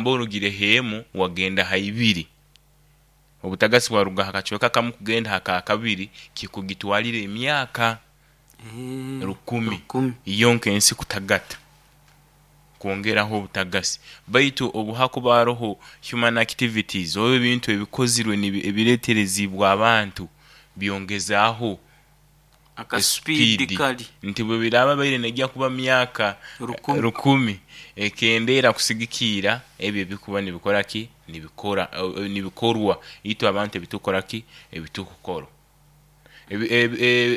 Obugamba orugire ha emu wagenda ha ibiri, obutagasi bwaruga ha kacweka kamu kugenda ha kakabiri, kikugitwalira emyaka 1000 yonka ensi kutagata kwongeraho obutagasi. Baitu obu hakuba haroho human activities oba ebintu ebikozirwe ebireetereziibwe abantu byongezaaho Aka speed speed kari. Nti bwebiraaba bibaire neija kuba myaka 1000. 1000, ekendeera kusigikiira ebyo ebikuba nibikora ki? Nibikora nibikorwa itwe abantu ebitukukora ki? Ebitukukora.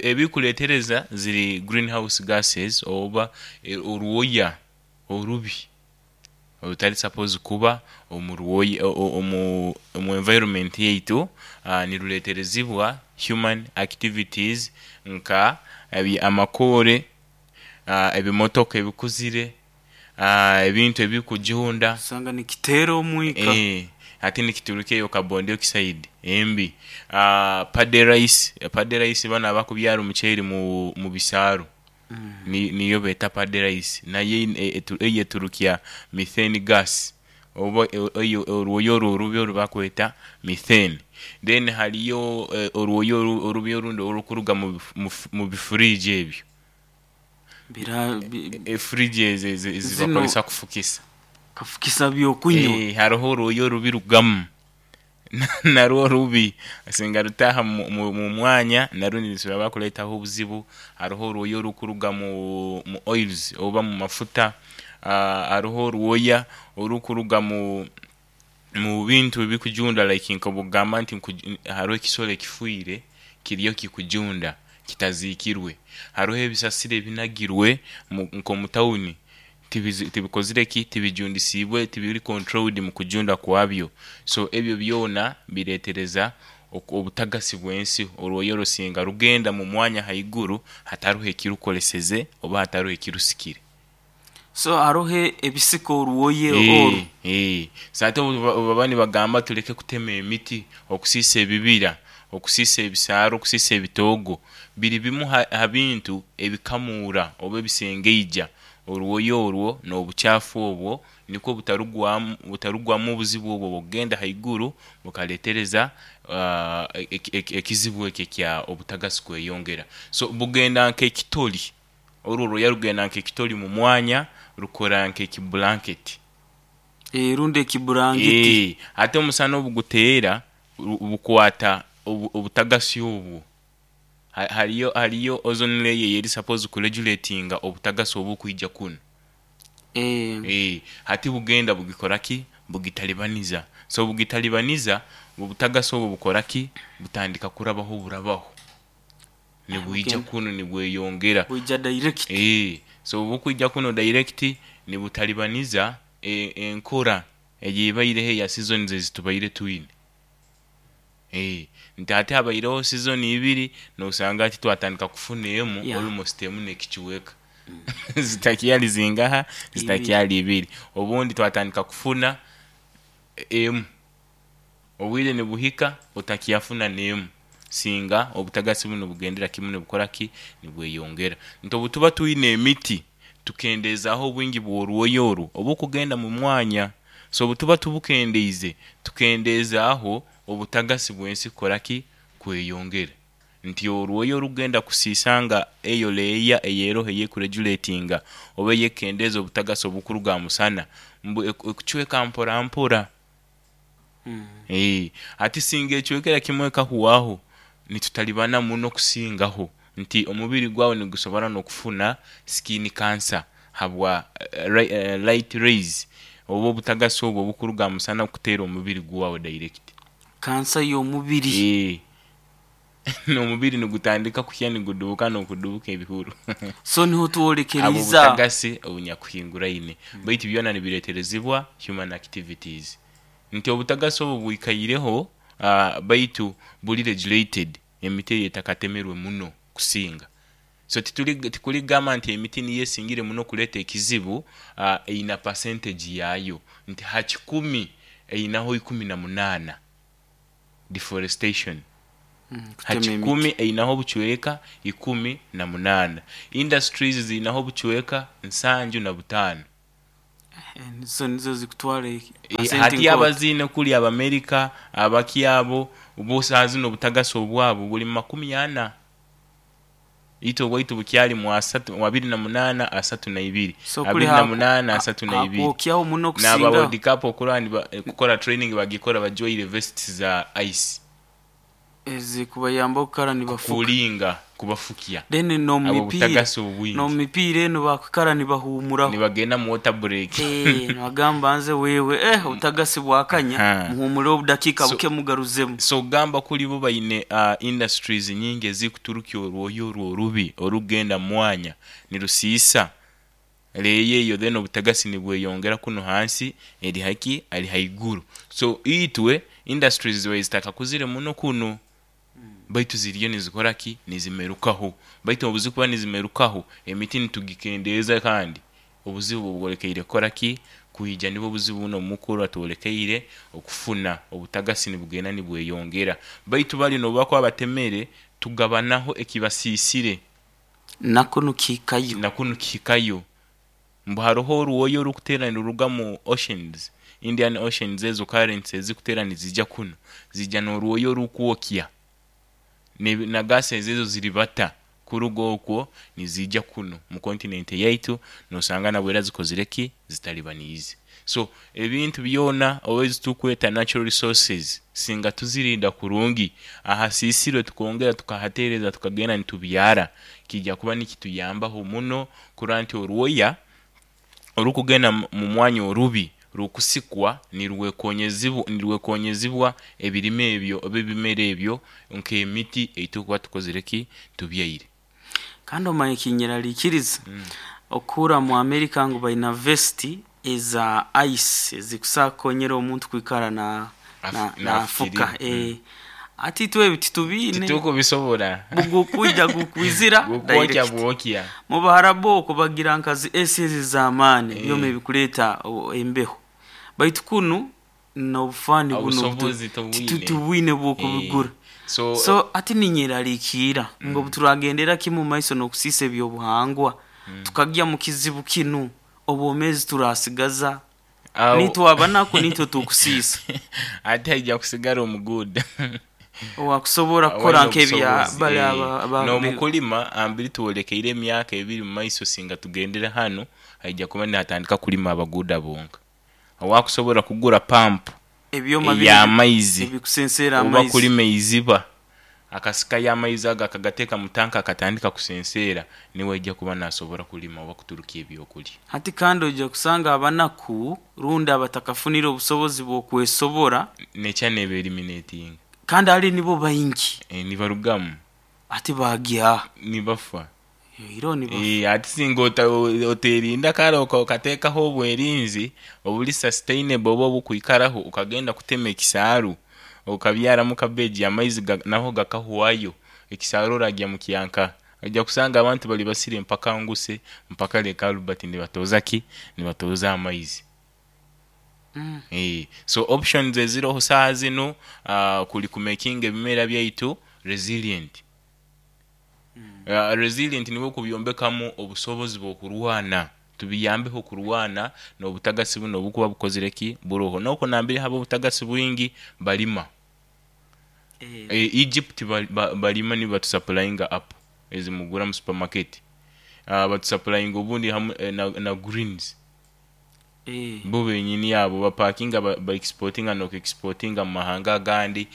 Ebikuleetereza ziri green house gases oba orwoya orubi orutari supposed kuba omu rwoya omu environment yaitu, nirureeterezibwa human activities nka amakoore, ebimotoka ebikuzire, ebintu ebikujunda. Osanga nikiteera omwika. Hati nikiturukya eyo carbon dioxide embi. Paddy rice, paddy rice banu abakubyara omuceeri mu bisaaru niyo beeta paddy rice nayo eyo eturukya methane gas oba orwoya orwo orubi orubakweta methane. Then hariyo orwoya orubi orundi orukuruga mu bi fridge ebyo, e fridge ezo Zinu ezibakozesa kufukisa. Kafukisa byokunywa. Haroho orwoya orubi rurugamu narwo rubi singa rutaaha mu mwanya narwo nirusobora kureetaho obuzibu. Haroho orwoya orukuruga mu oils oba mu mafuta, haroho orwoya orukuruga mu bintu ebikujunda like nk'obwokugamba nti haroho ekisoro ekifwire kiriyo kikujunda kitaziikirwe, haroho ebisasiro ebinagirwe nk'omu tawuni tibikozire ki? Tibijundisiibwe, tibiri controlled mu kujunda kwabyo. So ebyo byona bireetereza obutagasi bw'ensi orwoya orwo singa rugenda mu mwanya haiguru hataroho ekirukoleseze oba hataroho ekirusikire. So haroho ebisika orwoya oru. So hati obubaba nibagamba tuleke kutema emiti, okusiisa ebibira, okusiisa ebisaaru, okusiisa ebitoogo, biri bimu ha bintu ebikamuura oba ebisengeija orwoya orwo n'obukyafu obwo nikwo butarugwamu obuzibu obwo obukugenda haiguru bukaleetereza ekizibu eki ekya obutagasi kweyongera. So bugenda nk'ekitoli, oru orwoya rugenda nk'ekitoli mu mwanya rukora nk'eki blanket. Rundi ekiburangiti. Hati omusana obuguteera bukwata obutagasi obwo, hariyo ozone layer eyeri supposed ku regulatinga obutagasi obukwija kunu. Hati bugenda bugikora ki? Bugitalibaniza. So obugitalibaniza, obutagasi obwo bukora ki? Butandika kurabaho burabaho, nibwija kunu nibweyongera. Bwija direct. So obukwija kunu direct nibutalibaniza enkora eyeibaireho eya seasons ezitubaire twine. Nti hati habaireho season ibiri nosanga hati twatandika kufuna emu almost emu n'ekicweka zitakyali zingaha? Zitakyali ibiri. Obundi twatandika kufuna emu, obwire nibuhika otakyafuna n'emu singa obutagasi bunu nibugendera kimu nibukora ki? Nibweyongera. Nti obutuba twine emiti tukendezaaho obwingi bw'orwoya orwo obukugenda mu mwanya, so obutuba tubukendeize, tukendezaaho obutagasi bw'ensi kukora ki? Kweyongera. Nti orwoya orukugenda kusiisa nga eyo layer eyeroho eyeku regulatinga oba eyekukendeeza obutagasi obukuruga aha musana mbu ekucweka mpora mpora. Hati singa ecwekera kimwe ekahwaho, nitutalibana muno kusingaho nti omubiri gwawe nigusobora n'okufuna skin cancer habwa light rays oba obutagasi obwo obukuruga aha musana kuteera omubiri gwawe direct. Kansa y'omubiri. N'omubiri nigutandika kuhya nigudubuka n'okudubuka ebihuru. So niho twolekereize. Habw'obutagasi obunyakuhinguraine. Baitu byona nibireeterezibwa human activities. Nti obutagasi obu bwikaireho baitu buri regulated, emiti eyo etakatemerwe muno kusinga. So tikurigamba nti emiti niyo esingire muno kureeta ekizibu, eine percentage yaayo nti ha kikumi einaho 18 deforestation. Ha Kutema kikumi emiti. einaho obucweka 18. Industries ziinaho obucweka 75. Nizo nizo zikutwara Eh, hati abaziine kuli Abamerika abakyabo bo saaha zino obutagasi obwabo buli mu 40, itwe obwaitu bukyali mu 30, mu 28, 32, So kuli 28, 32. hakwokyaho muno N'aba kusinga. World Cup okurora kukora training bagikora bajwaire vests za ice. Ezikubayamba okukara nibafuka. Kulinga kubafukya. Then Abo n'omumipiira butagasi obwingi. N'omumipiira eno bakukara nibahuumuraho. Nibagenda mu water break. Nibagamba nze wewe obutagasi bwakanya, muhuumure obudakiika buke mugaruzemu. So gamba kuli bo baine industries nyingi ezikuturukya orwoya orwo orubi orugenda mwanya nirusiisa leeyo eyo, then obutagasi nibweyongera kuno hansi eri haki ari haiguru. So itwe industries zibaire zitakakuzire muno kunu, baitu ziriyo nizikora ki, nizimerukaho. Baitu obuzikuba nizimerukaho emiti nitugikendeeza, kandi obuzibu bwolekeire kukora ki, kwija. Nibwo obuzibu buno mukuru atwolekeire okufuna obutagasi nibugenda nibweyongera. Baitu bali nobu bakuba batemere tugabanaho ekibasiisire, nako nukihikayo. Nakunu kihikayo. Mbu haroho orwoya orukutera niruruga mu oceans, Indian Oceans, ezo currents ezikutera nizija kuno zijja n'orwoya orukwokya na gases ezo ziribata kuruga okwo nizija kuno mu continent yaitu, nosanga nabwera zikozire ki, zitalibaniize. So ebintu byona oba ezitukweta natural resources, singa tuzirinda kurungi, ahasiisirwe tukongera tukahateereza, tukagenda nitubyara, kijja kuba nikituyambaho muno kurora nti orwoya orukugenda mu mwanya orubi rukusikwa nirwekonyezibwa ebirime ebyo oba ebimera ebyo nk'emiti eitukuba tukozire ki, tubyaire. Kandi omanye kinyeraliikiriza okuhurra mu Amerika ngu baina vesti eza ice ezikusobola kukonyera omuntu kwikara nafuka. Nafukirira. Ati itwe ebi titubiine. Titukubisobora. Bugukwija gukwizira gukwokya direct. Bwokya. Mu Baharabu okwo bagira nkazi esi ezi ez'amaani, byoma ebikuleeta embeho, baitu kunu n'obufaani buno obusobozi tobwine. Titubwine bw'okubigura. So, So ati ninyeraliikirra ngu obu turagendera kimu maiso n'okusiisa ebyobuhangwa, tukagya mu kizibu kinu, obwomeezi turasigaza nitwe abanaku nitwe tukusiisa. Ate haija kusigara omuguuda owakusobora kukora awaine nk'ebya obusobozi, bali N'omukulima ambiri twolekeire emyaka 2 mu maiso, singa tugendere hanu haija kuba nihatandika kulima abaguuda bonka. Owakusobora kugura pampu ebyoma binu ey'amaizi ebikusenseera oba amaizi kulima eiziba akasikayo amaizi ago akagateeka mu tanka akatandika kusenseera, niwe aija kuba nasobora kulima oba kuturukya ebyokulya. Hati kandi ojja kusanga abanaku rundi abatakafunire obusobozi bw'okwesobora, nekya neeba eliminating. Kandi ali nibo baingi. Nibarugamu. Ati bagya nibafa. Iro nibafa. Ati singa oterinda kare okateekaho obwerinzi obuli sustainable oba obukwikaraho, okagenda kutema ekisaaru okabyaramu cabbage, amaizi naho gakahwayo, ekisaaru oragya mukyanka, ojja kusanga abantu bali basire mpaka Nguse mpaka Lake Albert nibatoza ki, nibatoza amaizi. So options eziroho saaha zinu kuli kumakinga ebimera byaitu resilient. Resilient nibwo kubyombekamu obusobozi bw'okurwana, tubiyambeho kurwana n'obutagasi buno obukuba bukozire ki, buroho. N'okwo nambere haba obutagasi bwingi balima. Egypt balima, nibo batusupplyinga apple ezimugura mu supermarket. Batusupplyinga obundi hamu na greens. Bo benyini abo bapakinga ba exportinga n'oku exportinga mu mahanga agandi.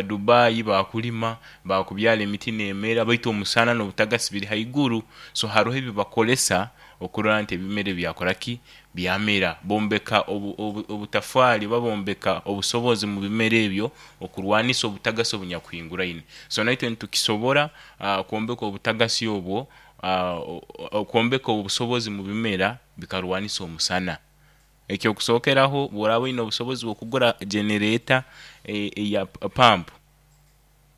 Dubai bakulima, bakubyara emiti neemera, baitu omusana n'obutagasi biri haiguru, so haroho ebi bakolesa okurora nti ebimera byakora ki, byamera. Bombeka obutafaali oba bombeka obusobozi mu bimera ebyo okurwanisa obutagasi obunyakuhinguraine. So naitwe nitukisobora kwombeka obutagasi obwo, kwombeka obusobozi mu bimera bikarwanisa omusana. Ekyokusookeraho, obu oraaba oine obusobozi bw'okugura generator eya pump,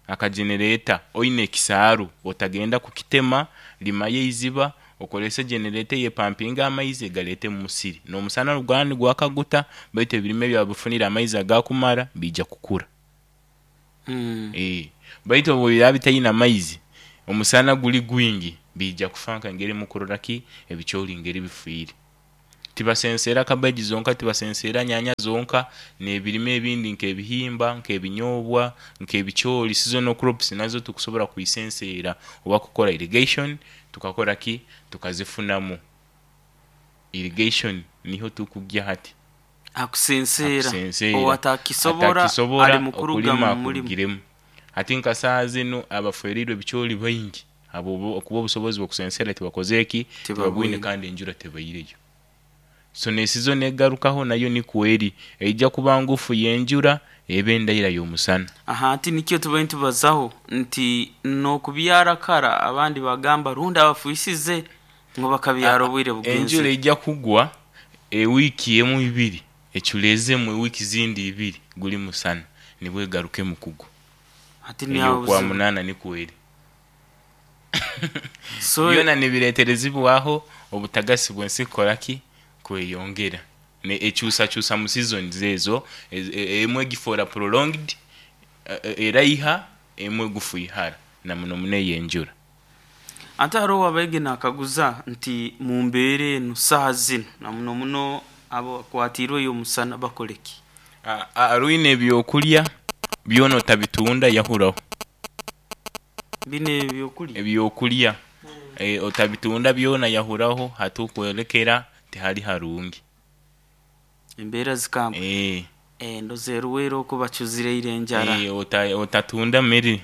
akagenerator, oine ekisaaru otagenda kukitema, limayo eiziba okozese generator eyo epampinge amaizi egaleete mu musiri. N'omusana obu guraba nigwaka guta, baitu ebirime byawe bifunire amaizi agakumara, biija kukura. Baitu obu biraba bitaine amaizi, omusana guli gwingi, biija kufa nk'engeri mukurora ki ebicooli ngeri bifiire. Tibasenseera cabbage zonka, tibasenseera nyanya zonka, n'ebirime ebindi nk'ebihimba, nk'ebinyobwa, nk'ebicoori, seasonal crops nazo tukusobora kwisenseera oba kukora irrigation tukakora ki? Tukazifunamu. Irrigation niho tukugya hati. Akusenseera. Akusenseera. Owatakisobora Atakisobora ali mukuruga okulima mu mulimu. akurugiremu. Hati nka saaha zinu abaferiirwe ebicoori baingi habw'okuba obusobozi bw'okusensera tibakozire ki? Tibabwine Tibabwine. kandi enjura tebaireyo. So n'esizoni egarukaho nayo nikwo eri, eija kuba ngufu y'enjura ebe endaira y'omusana. Aha ati nikyo tubaire nitubazaho nti n'okubyara kara abandi bagamba rundi abafuisize ngu bakabyara obwire Enjura bugenzere. eija kugwa ewiiki emu ibiri eculeezemu ewiiki zindi ibiri guli musana nibwo egarukemu kugwa. Hati niaho Eyo kwa obuzibu. munaana nikwo eri. So Byona nibireeterezibwaho obutagasi bw'ensi kukora ki? Kweyongera. Ne ekyusakyusa mu seasons ezo, emwe egifoora prolonged, eraiha, emwe egufuihara na muno muno ey'enjura. Ate haroho abaige nakaguza nti mu mbeera enu saaha zinu na muno muno abo akwatiirwe omusana bakole ki? Rwine ebyokulya byona otabitunda yahuraho. Binu ebyokulya? Ebyokulya otabitunda byona yahuraho hati okwolekera tihali harungi. Embeera zikamba. Ndoza eruweero oku bacuzireire enjara. Otatunda mere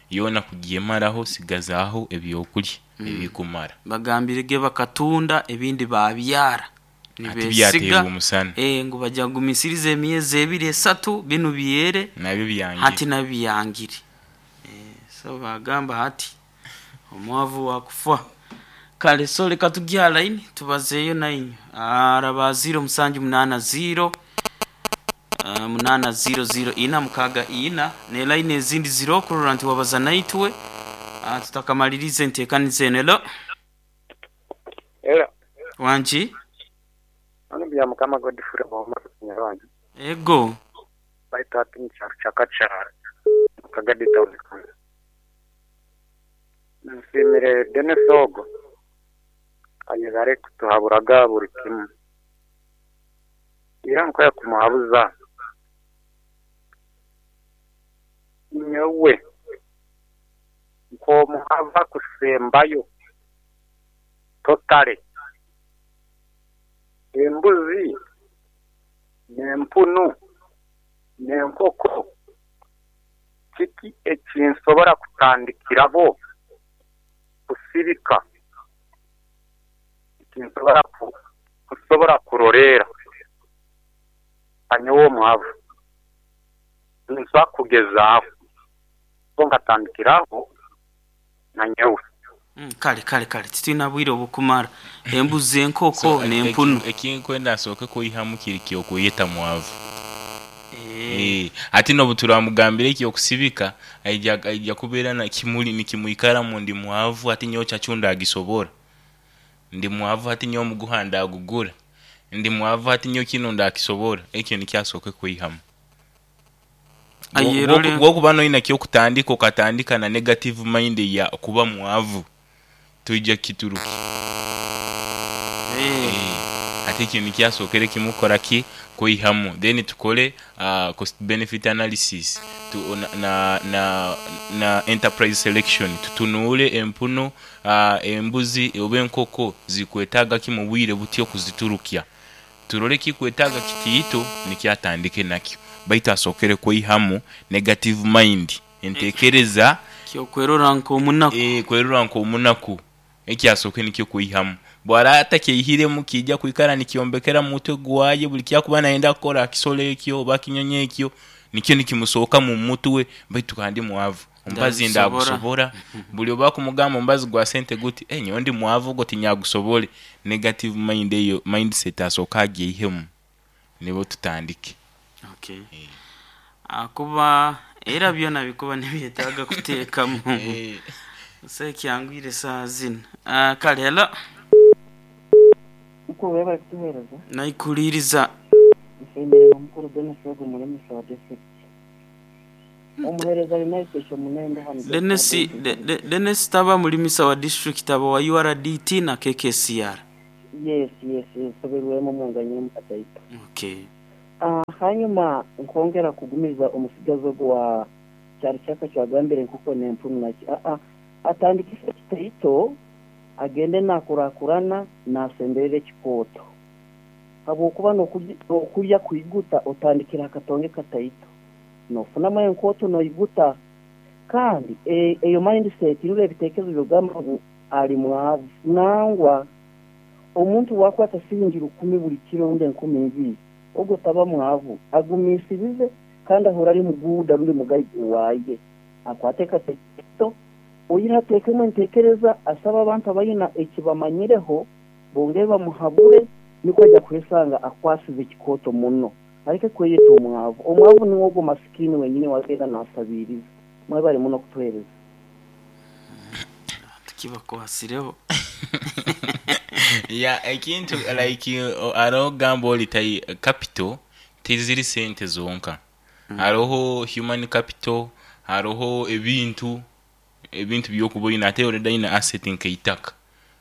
yoona kugyemaraho sigazaaho ebyokulya ebikumara. Bagambirege bakatunda ebindi babyara. Hati Nibeesiga byateerwa omusana. Ngu bajja kugumisiriza emyezi ebiri esatu binu byere Nabyo byangire. hati nabyo byangire. So bagamba hati omwavu wakufa. Kale so leka tugye ha line tubazeeyo nainywe. Araba 0780 800 464 ne line ezindi ziro kurora nti wabaza naitwe tutakamaliriza enteekaniza eno. Hello. Hello. Wangi? Ono bya Mukama Godfrey Omar Kinyarwanda. Ego. Baitu hati mu kyaro kya Kachara mu Kagadi Town Council. Nsiimire Denis ogo ayebare kutuhaburaga buri kimu. Era nkoya kumuhabuza nyowe nk'omuhava kusembayo totally embuzi n'empunu n'enkoko kiki ekinsobora kutandikiraho kusibika ekinsobora kusobora kuroleera nyowe omwavu ninsobola kugezaaho so nkatandikiraho nanyowe. Kale kale kale titwina bwire obukumara embuzi enkoko So, n'empunu. Ekinkwenda asooke kwihamu kiri kyokweyeta mwavu. Ati n'obu turamugambira ekyokusibika aija kubeera na kimuli nikimwikaramu ndi mwavu hati nyowe chachu ndagisobora. Ndi mwavu hati nyowe omuguha ndagugura. Ndi mwavu hati nyowe kinu ndakisobora. Ekyo nikyo asooke kwihamu. Ayerole Bwokuba noina kyokutandika okatandika na negative mind ya kuba mwavu toija kituruki. Ate ekyo nikyo asookere kimukora ki? Kwihamu. Then tukore cost benefit analysis na enterprise selection tutunuule empunu, embuzi oba enkoko zikwetaaga ki mu bwire buti okuziturukya. Turole ekikwetaaga kitiito nikyo atandike nakyo baitu asookere kwihamu negative mind enteekereza kyokwerora nk'omunaku. Kwerora nk'omunaku ekyo asooke nikyo kwihamu. Bw'araba atakyeihiremu kiija kwikara nikyombekera mu mutwe gwaye buli kyakuba nayenda kukora akisolo ekyo oba akinyonyi ekyo nikyo nikimusookamu mu mutwe baitu kandi mwavu omubazi Ndagusobora. ndagusobora. Buli obu bakumugamba omubazi gwa sente guti nyowe ndi mwavu ogwo tinyagusobore. Negative mind eyo mindset asooke agyeihemu nibwo tutandike. Okay. Akuba era byona bikuba nibyetaaga kuteekamu. So ekyangwire saaha zinu. Kale hello. Mukuru webale kutuheereza. Naikuliriza. Nsiimire omukuru Denis ogu mulimisa wa district. Omuheereza United Munendo hano. Denis Denis taba mulimisa wa district aba wa URDT na KKCR. Yes, yes, nsoberwemu munganyiremu kataito. Okay. Hanyuma nkongera kugumiza omusigazi ogu wa kyaro kyaka kyagambire enkoko n'empunu naki atandikise ekitaito, agende nakurakurana nasemberera ekikooto, habwokuba n'okulya kwiguta otandikira akatonge kataito, nofunamu enkooto noiguta. Kandi eyo mindset nibyo ebitekerezo byogamba ngu ali mwavu. Nangwa omuntu wakwata siringi 1000 buli kiro rundi 2000, ogwo taba mwavu, agumisirize kandi ahora ali muguuda rundi mugaiga waaye, akwate kataito oyire ateekemu entekereza, asaba abantu abayina ekibamanyireho bongere bamuhabure, nikwo ajja kwesanga akwasize ekikooto muno, aleke kweyeta omwavu. Omwavu niwe ogwo masikini wenyini wagenda nasabiriza. Mwebale muno kutuhereza. Tukibakwasireho. Ya, ekintu like hariho ogamba ori tai capital tiziri sente zonka, hariho human capital, hariho ebintu byokuba oyine, ate already ayine asset nk'eitaka.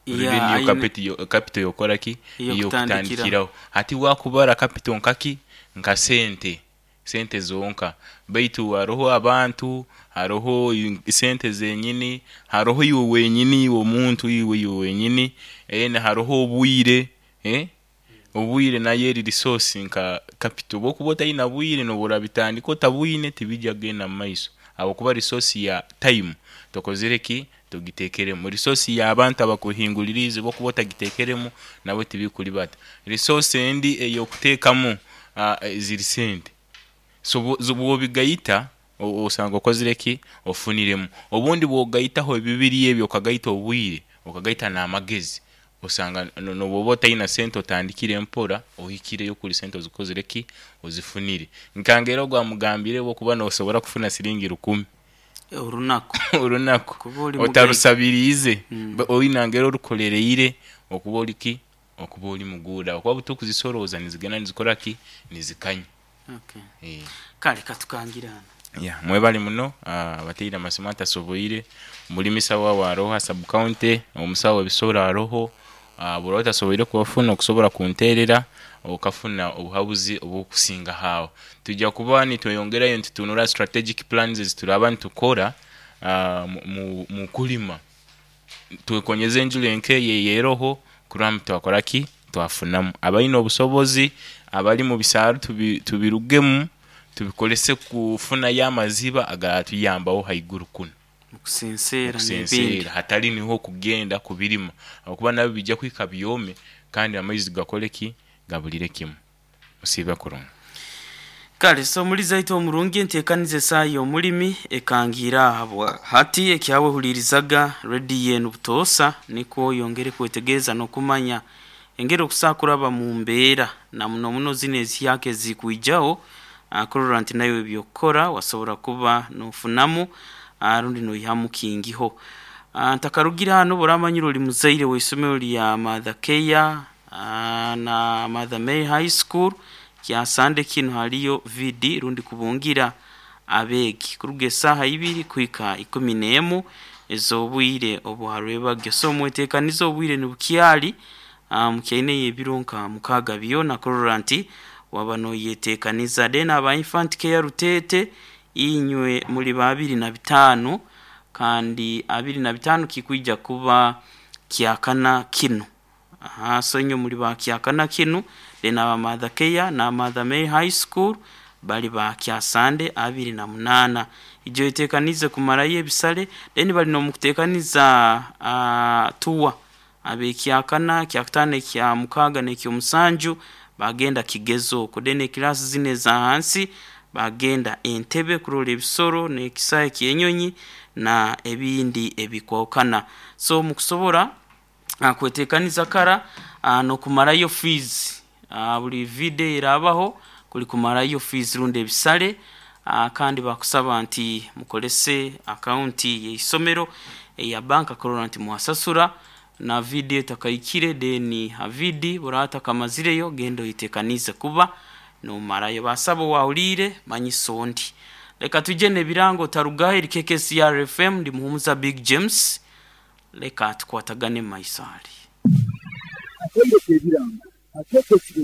Already niyo capital yokora ki? Ey'okutandikiraho. Hati wakubara capital nkaki? Nka sente zonka, baitu hariho abantu, hariho sente zenyini, hariho iwe wenyini, iwe omuntu, iwe wenyini, hariho obwire, obwire nayo eri resource nka capital. Bwokuba otayina bwire noba orabitandika otabwine tibijja kugenda mu maiso, habwokuba resource ya time tokozire ki? Togitekeremu. Resource y'abantu abakuhinguririize bwokuba otagitekeremu nabo tibikuribata. Resource endi ey'okuteekamu ziri sente. So bwobigaita osanga okozire ki? Ofuniremu. Obundi bwogaitaho ebibiri ebyo, okagaita obwire, okagaita n'amagezi, osanga nobwoba otayina sente otandikire mpora ohikireyo kuri sente ozikozire ki? Ozifunire. Nkangera ogu amugambire bwokuba nosobora kufuna siringi 1000 orunaku, orunaku otarusabiriize, oyinangera orukolereire okuba ori ki? Okuba ori muguuda, okuba butukuzisoroza nizigenda nizikora ki? Nizikanya. Okay. Kale katukangirana. Ya, mwebale muno abateire amasimu atasoboire. Mulimisa wawe aroho ha sub county, omusawo w'ebisoro aroho, buri otasoboire kubafuna okusobora kunterera okafuna obuhabuzi obukusinga aho. Tujja kuba nitweyongerayo nitutunura strategic plans ezituraba nitukora mu kulima, twekonyeze enjura enkeyo eyeroho kurora twakora ki? Twafunamu. Abaine obusobozi abali mu bisaaro tubirugemu tubikolese kufunayo amaziba agatuyambaho haiguru kunu. Kusenseera, hatali niho kugenda kubirima, habwokuba nabyo bijja kuhika byome kandi amaizi gakole ki? Gabulire kimu. Musiibe kurungi. Kale so omulizi aitu omurungi enteekaniza esaaha y'omulimi ekangiira ahabwa hati ekyawe hulirizaga rediyo enu butoosa, nikwo oyongere kwetegereza n'okumanya engeri okusobola kuraba mu mbeera na muno muno zino ezihyaka ezikwijaho, kurora nti nawe ebyokukora wasobora kuba nofunamu rundi noihamu kingiho. Ntakarugire hanu oramanyire ori muzaire w'isomero lya Mother Care na Mother Mary High School, kyasande kinu haliyo VD rundi kubungira abeegi kuruga esaaha 2 kuhika 11 ez'obwire obuharwebagyo. So mwetekanize obwire nibukyali, mukyaine ebiro nka 6 byona kurora nti waba noyetekaniza. Then aba Infant Care Rutete inywe muli ba 25, kandi 25 kikwija kuba kyakana kinu. So inywe muli ba kyakana kinu. Then aba Mother Care na Mother Mary High School bali ba kyasande 28. Ijo yetekanize kumarayo ebisale. Then bali nomukutekaniza tuwa abekyakana, kyakutano, ekya 6 n'ekyomusanju bagenda kigezo okwo. Then ekilasi zino eza hansi bagenda entebe kurora ebisoro n'ekisaha eky'enyonyi na ebindi ebikwahukana. So mukusobora kwetekaniza kara n'okumarayo fees, buli video erabaho kuli kumarayo fees rundi ebisale, kandi bakusaba nti mukolese akaunti y'isomero eya banka kurora nti mwasasura na video etakaikire. Then ha vidi burata kamazireyo genda oyitekanize kuba nomarayo. Basaba wahulire manyiso ndi leka tuje n'ebirango tarugaho. Eri KKCR FM, ndi Muhumuza Big James, leka tukwatagane maiso ali. Akaire k'ebirango akeeko ekiro.